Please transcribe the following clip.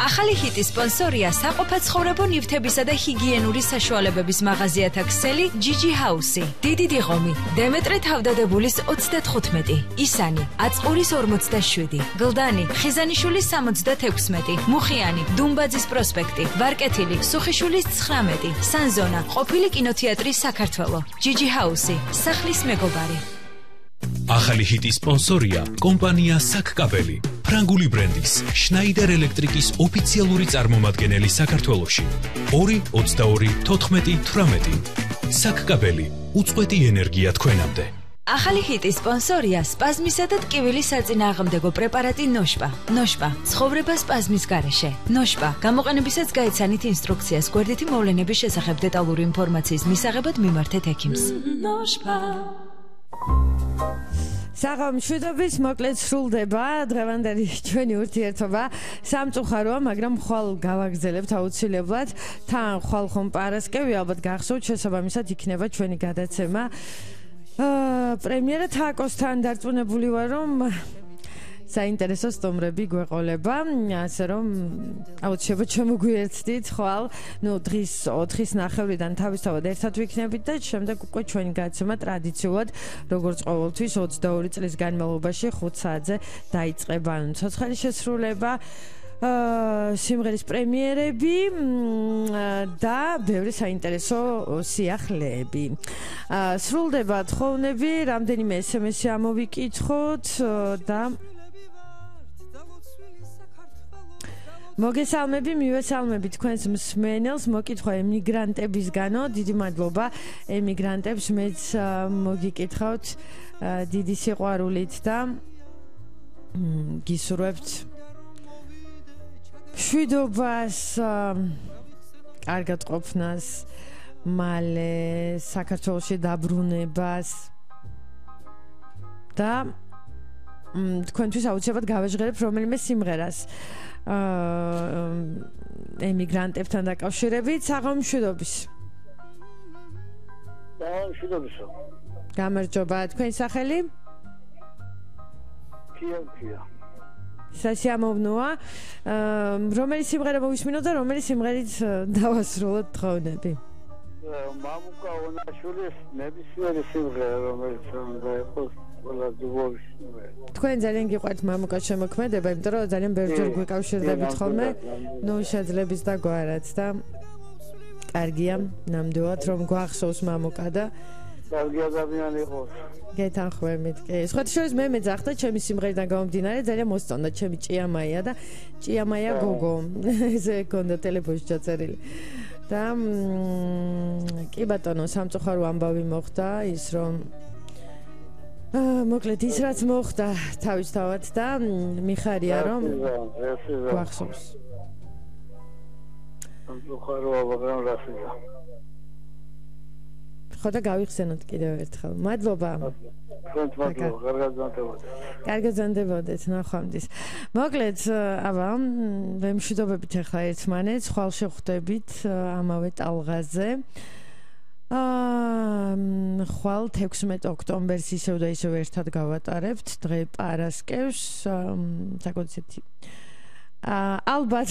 ახალი ჰიტის სპონსორია საყოფაცხოვრებო ნივთებისა და ჰიგიენური საშუალებების მაღაზიათა ქსელი GG House-ი. დიდი დიღომი, დემეტრე თავდადებულის 35, ისანი, აწყურის 47, გლდანი, ხიზანიშვილის 76, მუხიანი, დუმბაძის პროსპექტი, ვარკეთილი, სუხიშვილის 19, სანზონა, ყოფილი კინოთეატრის საქართველო. GG House-ი, სახლის მეგობარი. ახალი ჰიტის სპონსორია კომპანია საკკაბელი, ფრანგული ბრენდის შნაიდერ ელექტრიკის ოფიციალური წარმომადგენელი საქართველოში. 2-22-14-18. საკკაბელი, უწყვეტი ენერგია თქვენამდე. ახალი ჰიტის სპონსორია სპაზმისა და ტკივილის საწინააღმდეგო პრეპარატი ნოშპა. ნოშპა, ცხოვრება სპაზმის გარეშე. ნოშპა, გამოყენებისას გაეცანით ინსტრუქციას გვერდითი მოვლენების შესახებ დეტალური ინფორმაციის მისაღებად მიმართეთ ექიმს. ნოშპა. საღამოშვიდობის მოკლედ სრულდება დღევანდელი ჩვენი ურთიერთობა. სამწუხაროა, მაგრამ ხვალ გავაგრძელებთ აუცილებლად. თან ხვალ ხომ პარასკევი, ალბათ გახსოვთ, შესაბამისად იქნება ჩვენი გადაცემა. პრემიერა თაკოსთან დარწმუნებული ვარ, რომ საინტერესო სტუმრები გვეყოლება, ასე რომ აუცილებლად შემოგვიერთდით ხვალ, დღის 4-ის ნახევრიდან თავისთავად ერთად ვიქნებით და შემდეგ უკვე ჩვენი გადაცემა ტრადიციულად, როგორც ყოველთვის 22 წლის განმავლობაში 5 საათზე დაიწყება. ცოცხალი შესრულება, სიმღერის პრემიერები და ბევრი საინტერესო სიახლეები. სრულდება თხოვნები, რამდენიმე SMS-ი ამოვიკითხოთ და მოგესალმები, მივესალმები თქვენს მსმენელს, მოკითხვა ემიგრანტებისგანო, დიდი მადლობა ემიგრანტებს, მეც მოგიკითხავთ დიდი სიყვარულით და გისურვებთ მშვიდობას, კარგად ყოფნას, მალე საქართველოში დაბრუნებას და თქვენთვის აუცილებლად გავეჟღერებ რომელიმე სიმღერას ემიგრანტებთან დაკავშირებით. საღამოშვიდობის. საღამოშვიდობისო. გამარჯობა, თქვენი სახელი? კია. სასიამოვნოა. რომელი სიმღერა მოვისმინოთ და რომელი სიმღერით დავასრულოთ თხოვნები? მამუკა ონაშვილის ნებისმიერი სიმღერა, რომელიც უნდა იყოს ყველა ძუღობის სიმღერა. თქვენ ძალიან გიყვართ მამუკას შემოქმედება, იმიტომ რომ ძალიან ბევრჯერ გვიკავშირდებით ხოლმე, შეძლებს და გვარად და კარგია, ნამდვილად რომ გვახსოვს მამუკა და კარგი ადამიანი იყოს. გეთანხმებით. სხვა შორის მე მეძახდა ჩემი სიმღერიდან გამომდინარე, ძალიან მოსწონდა ჩემი ჭიამაია და ჭიამაია გოგო. ესე გქონდა ტელეფონში ჩაწერილი. და კი ბატონო, სამწუხარო ამბავი მოხდა ის რომ მოკლედ ის რაც მოხდა თავისთავად და მიხარია რომ გვახსოვს. სამწუხაროა, მაგრამ რასია. ხო და გავიხსენოთ კიდევ ერთხელ. მადლობა. კარგად ზანდებოდეთ, ნახვამდის. მოკლედ, ვემშვიდობებით ახლა ერთმანეთს, ხვალ შევხვდებით ამავე ტალღაზე. ხვალ 16 ოქტომბერს ისევ და ისევ ერთად გავატარებთ, დღე პარასკევს, საკუთრებით ალბათ